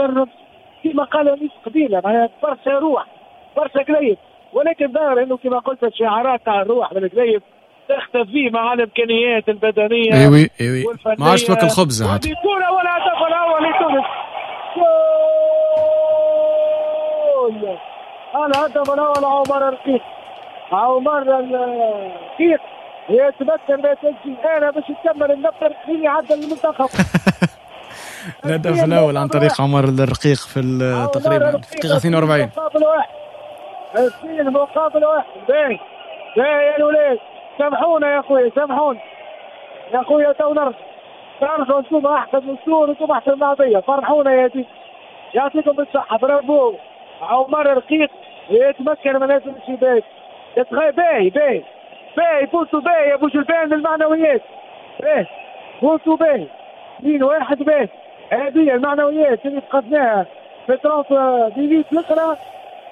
المدرب كما قال انيس قبيلة، معناها برشا روح برشا قليب، ولكن ظهر انه كما قلت الشعارات تاع الروح بالقليب تختفي مع الامكانيات البدنية. ايوي ايوي، ما عادش توكل خبز عاد. كرة والهدف الاول لتونس، جول! الهدف الاول عمر الرقيق، عمر الرقيق يتمكن من تسجيل. انا باش نكمل النفر خليني يعدل المنتخب. الهدف الاول عن طريق عمر الرقيق في تقريبا في الدقيقة 42. مقابل واحد، 2-1. باهي باهي يا الاولاد، سامحونا يا خويا، سامحونا يا خويا، تو نرجعوا انتم احسن من السور، انتم احسن من العربية، فرحونا يا دي، يعطيكم الصحة، برافو. عمر الرقيق يتمكن من هذا الشباك، باهي باهي باهي، بوسوا باهي يا بوجلبان المعنويات، باهي بوسوا باهي، 2-1 باهي. هذه المعنويات اللي فقدناها في 30 minutes الاخرى،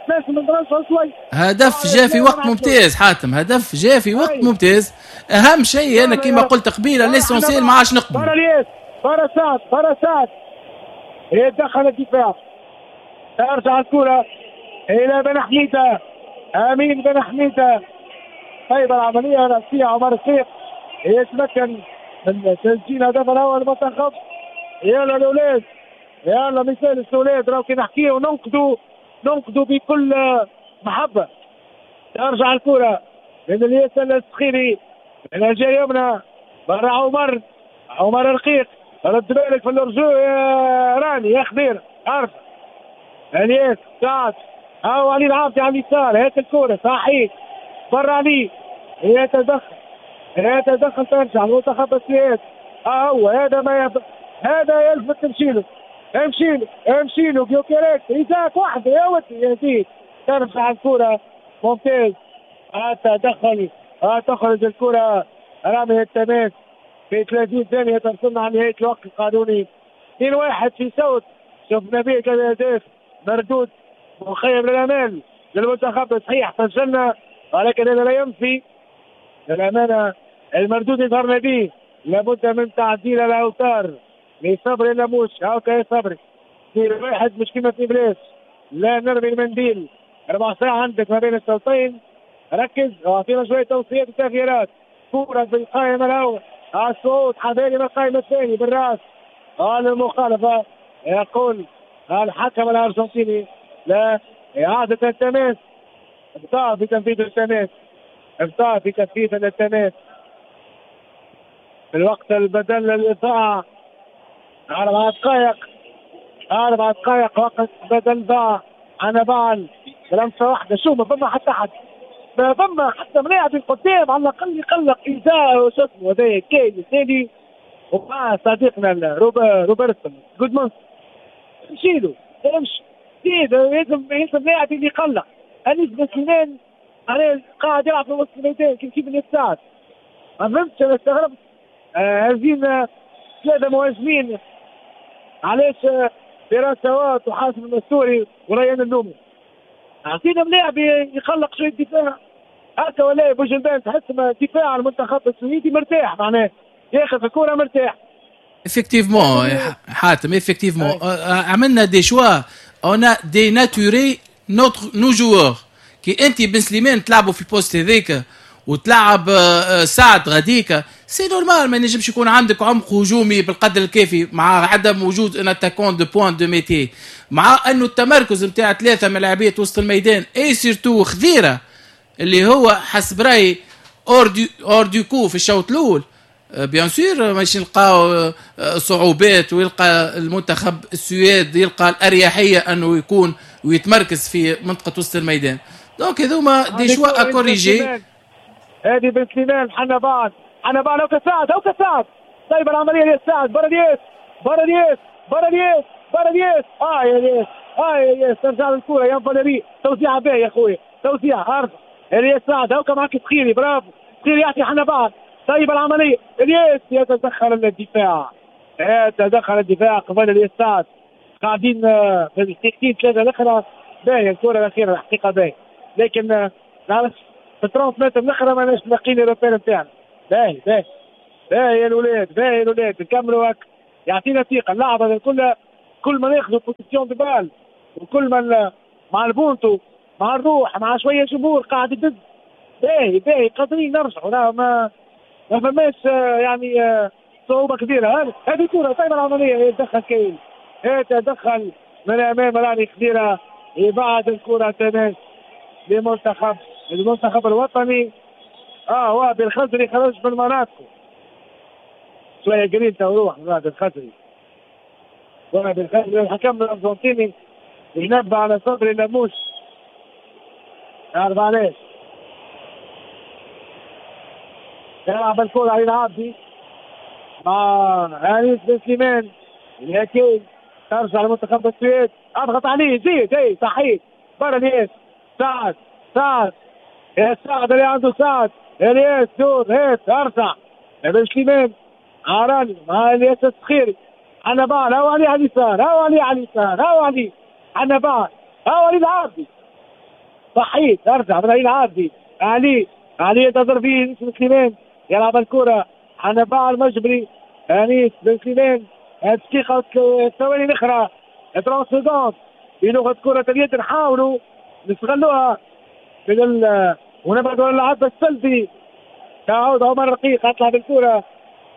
لازم نرجعوا شوي. هدف جاء في وقت ممتاز حاتم، هدف جاء في وقت ممتاز. اهم شيء انا كما قلت قبيلة l'essentiel ما عادش نقبل. برا الياس، برا سعد، برا سعد، يتدخل الدفاع، ترجع الكره الى بن حميده، امين بن حميده. طيب العملية الراسية، عمر السيق يتمكن من تسجيل هدف الاول المنتخب. يلا الاولاد، يلا مثال الاولاد، راهو كي نحكيو وننقدوا، ننقدوا بكل محبة. ترجع الكره من الياس السخيري من الجهة اليمنى، برا عمر، عمر الرقيق، رد بالك في الرجوع يا راني يا خضير، عارف الياس سعد، هاو علي العابدي على اليسار، هات الكره صحيح برا علي، يتدخل يتدخل، ترجع المنتخب السويد. هو هذا ما هذا يلفت، تمشيله امشيله امشيله بيوكيريك، إيزاك وحده يا ودي يا زيد، ترجع الكرة ممتاز، تدخل، تخرج الكرة رامي التماس في 30 ثانية ترسلنا على نهاية الوقت القانوني. 2-1 في صوت، شفنا به ثلاث أهداف، مردود مخيب للأمال للمنتخب. صحيح سجلنا، ولكن هذا لا ينفي للأمانة المردود اللي ظهرنا به. لابد من تعديل الأوتار لصبري لموش، هاكا يا صبري، 2-1 مش كيما في بلاش، لا نرمي المنديل، ربع ساعة عندك ما بين الشوطين، ركز واعطينا شوية توصيات وتغييرات. كورة في القائمة الأول، الصعود حذاري من القائمة الثاني بالراس، المخالفة يقول الحكم الأرجنتيني لا، إعادة التماس، ابطاء في تنفيذ التماس، ابطاء في تنفيذ التماس في الوقت البدل للإضاعة، 4 دقائق، 4 دقائق وقت بدل ضاع. أنا بعل بلمسة واحدة، شو ما فما حتى حد، ما فما حتى ملاعب القدام على الأقل يقلق إيزاء وشو اسمه هذا كاين الثاني، ومع صديقنا روبرتسون جودمانس، امشي له امشي، لازم لاعب اللي يقلق. أنيس بن سليمان قاعد يلعب في وسط الميدان كيف كيف اللي ساعد، ما فهمتش أنا استغربت. هزينا 3 مهاجمين، علاش فراس سوات وحاسم المستوري وريان اللومي؟ اعطينا ملاعب يخلق شوية دفاع هكا ولا بوجلبان، تحس دفاع المنتخب السويدي مرتاح، معناه ياخذ الكره مرتاح. effectivement حاتم، effectivement عملنا des choix، on a dénaturé nos joueurs. كي انت بن سليمان تلعبوا في ال poste هذاك وتلعب سعد غديكا، c'est normal ما ينجمش يكون عندك عمق هجومي بالقدر الكافي مع عدم وجود un attaquant de pointe de métier، مع انه التمركز نتاع 3 من لاعبيه وسط الميدان et surtout خذيره اللي هو حسب رايي hors du coup في الشوط الاول. bien sûr ماشي نلقاو صعوبات، ويلقى المنتخب السويد يلقى الاريحيه انه يكون ويتمركز في منطقة وسط الميدان. donc هذوما des choix à corriger. هذه بن سليمان، حنا بعد، حنا بعد، هوكا سعد، هوكا سعد، طيب العملية ديال سعد، برا الياس، برا الياس، برا الياس، برا الياس، يا الياس، يا الياس، ترجع للكرة يا فاليري، توزيعه باهي يا خويا، توزيع ارجع الياس سعد، هوكا معاك سخيري، برافو سخيري يعطي حنا بعد، طيب العملية الياس يتدخل الدفاع، يتدخل الدفاع قبل الياس سعد. قاعدين في الدقيقتين 3 الاخرى باهيه الكره الاخيرة الحقيقة باهيه، لكن نعرف في 30 متر الاخرى ماناش لاقيين ال repères نتاعنا. باهي باهي باهي يا الاولاد، باهي يا الاولاد، نكملوا هكا، يعطينا ثقة. اللعبة الكل كل ما ناخذوا possession de balle وكل ما مع البونتو مع الروح مع شوية جمهور قاعد يدز باهي باهي قادرين نرجعوا. لا ما فماش يعني صعوبة كبيرة. هذه كره طيب العملية، يتدخل كاين، يتدخل من امام راني كبيرة، يبعد الكره تمام لمنتخب المنتخب الوطني. هو بالخزري خرج من مناطقه شوية جرينتا وروح من الخزري، وبالخزري الحكم الارجنتيني ينبه على صبري لموش، يعرف علاش يلعب الكرة علي العابدي مع انيس بن سليمان الهكي، ترجع لمنتخب السويد، اضغط عليه زيد، اي صحيح برا الياس، سعد سعد يا سعد اللي عنده سعد، الياس دور هات ارجع بن سليمان عراني مع الياس الصخيري، حنبعل هاو علي على اليسار، هاو علي على اليسار، هاو علي حنبعل، هاو علي العابدي صحيح ارجع من علي العابدي، علي علي ينتظر فيه بن سليمان يلعب الكرة حنبعل مجبري انيس بن سليمان، دقيقة الثواني الأخرى 30 secondes بلغة كرة اليد، نحاولوا نستغلوها ونبعدوا عن اللعب السلبي. تعود عمر رقيق اطلع بالكرة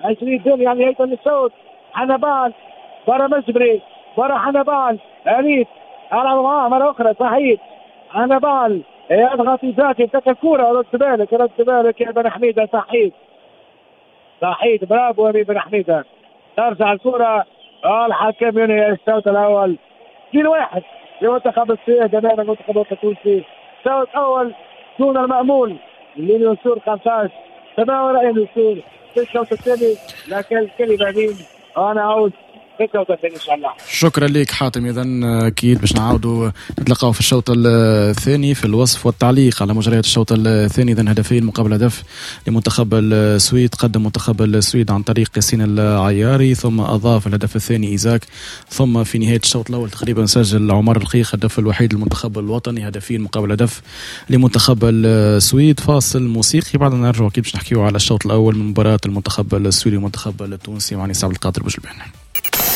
20 دون يعني هيثم الصوت، حنبعل برا مجبري برا حنبعل انيس العب معاه مرة أخرى صحيح حنبعل يضغط ذاتي يمسك الكرة، رد بالك رد بالك يا بن حميدة، صحيح صحيح برافو يا بن حميدة، ترجع الكرة الحكم ينهي الشوط الأول 2-1 لمنتخب السويد أمام المنتخب التونسي. الشوط الأول دون المأمول لنسور 15 تناول رأي نسور في الشوط الثاني، لكن الكلمة مين أنا أعود. شكرا لك حاتم. اذا اكيد باش نعاودوا نتلقاو في الشوط الثاني في الوصف والتعليق على مجريات الشوط الثاني. اذا هدفين مقابل هدف لمنتخب السويد، قدم منتخب السويد عن طريق ياسين العياري، ثم اضاف الهدف الثاني ايزاك، ثم في نهاية الشوط الاول تقريبا سجل عمر الرقيق الهدف الوحيد للمنتخب الوطني، هدفين مقابل هدف لمنتخب السويد. فاصل موسيقي بعد نرجع اكيد باش نحكيو على الشوط الاول من مباراة المنتخب السويدي والمنتخب التونسي مع نساب القادر بوجلبان.